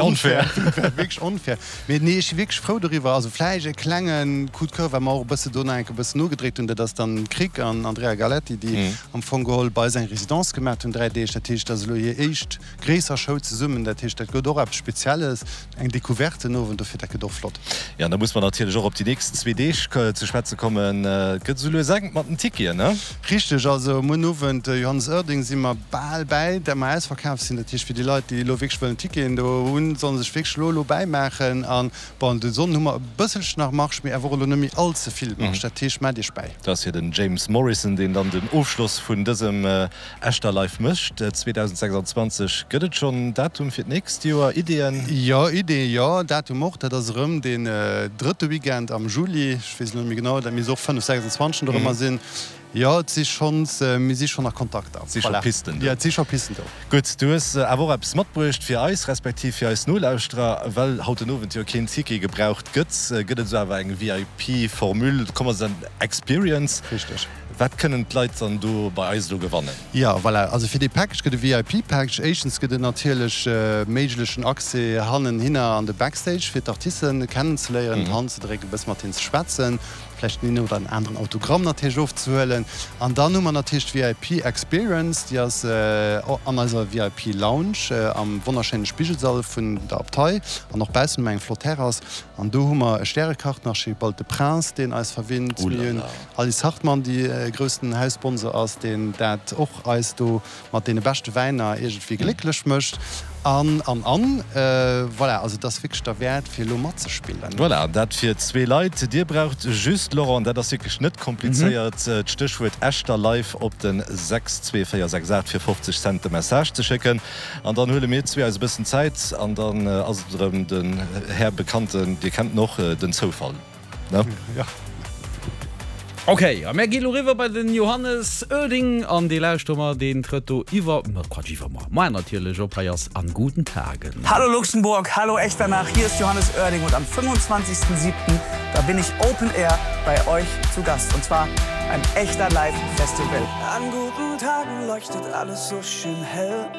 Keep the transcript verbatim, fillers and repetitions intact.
Onfair. Wierklech onfair. Mee nee, ech si wierklech frou doriwwer. Also vläicht e klenge Coup de coeur, well mer och e bësse do nach eng Kéier e bëssen nogedréckt hunn, dat ass dann Krick an Andrea Galetti, déi am Fong geholl bei eis eng Résidence gemaach hunn, dräi Deeg. Dat heescht, dat ass elo hir éischt gréisser Show zesummen. Dat heescht, dat gëtt och eppes Spezielles, eng Decouverte den Owend. Dofir, dat gëtt och flott. Jo, an da muss mer natierlech och op déi nächst zwee Deeg ze schwätze kommen. Et gëtt esou lues enk mat den Ticketen, ne? Richteg. Also muer den Owend, Johannes Oerding, si mer bal bäi, dat mer ausverkaf sinn. Dat heescht, fir déi Leit, déi elo wierklech wëllen Ticketen do hunn, sollen sech wierklech elo elo bäimaachen. An bon, de Sonnden hu mer e bësselchen nach Marge, mee awer och elo net méi all ze vill Marge. Dat heescht, maacht iech bäi. Dat ass jo den James Morrison, deen dann den Ofschloss vun dësem Echterlive mécht. zweedausendsechsandzwanzeg. Gëtt et schonn en Datum fir d'nächst Joer? Ideeën? Jo, Ideeë jo, Datum och. Dat ass erëm deen drëtte Weekend am Juli. Ech weess elo net méi genau, dat misst och fënnef, sechsundzwanzeg dorëmmer sinn. Jo, et si schonns, mir si schonn a Kontakter. Et si scho Pisten do. Jo, et si scho Pisten do. Gutt, du hues awer och eppes matbruecht fir eis, respektiv fir eis Nolauschterer. Well haut den Owend jo keen Ticket gebraucht gëtt, gëtt et esou awer eng V I P-Formule, kommen se Experience. Richteg. Wat kënnen d'Leit dann do bei eis elo gewannen? Jo, voilà, also fir dee Package gëtt e V I P-Package. Éischtens gëtt et natierlech méiglechen Accès hannenhinner an de Backstage, fir d'Artisten kennenzeléieren, d'Hand ze drécken, e bësse mat hinnen ze schwätzen, vläicht den een oder den aneren Autogramm natierlech ofzehuelen. An dann hu mer natierlech d'V I P Experience, déi ass an eiser V I P Lounge am wonnerschéine Spigelsall vun der Abtei an och baussen hu mer eng flott Terrass. An do hu mer e Stärekach, den Archibald de Prince, deen eis verwinnt. Mir hunn Alice Hartmann, déi e groussen Haussponsor ass, deen dat och eis do mat deene beschte Wäiner iergendwéi glécklech mécht. An, an, an. Voilà, also et ass wierklech derwäert, fir elo matzespillen. Voilà, dat fir zwee Leit. Dir braucht just, Laurent, dat ass wierklech net komplizéiert, d'Stéchwuert Echter Live op de sechs zwee véier sechs aacht fir fofzeg Cent de Message ze schécken. An dann huele mir zwee eis e bëssen Zäit an dann ass et erëm den Här Bekannten, Dir kennt en och, den Zoufall, ne? Jo. Ok, a mär gi lo riwwer bei den Johannes Oerding an dee lauschtere mer, deen trëtt do iwwer, ma Quatsch, iwwermuer, moar natierlech op. Hei ass An guten Tagen. Hallo Luxemburg, hallo Echternach, hier ist Johannes Oerding und am fünfundzwanzigsten siebten da bin ich Open Air bei euch zu Gast und zwar beim Echter Live Festival. An guten Tagen leuchtet alles so schön hell.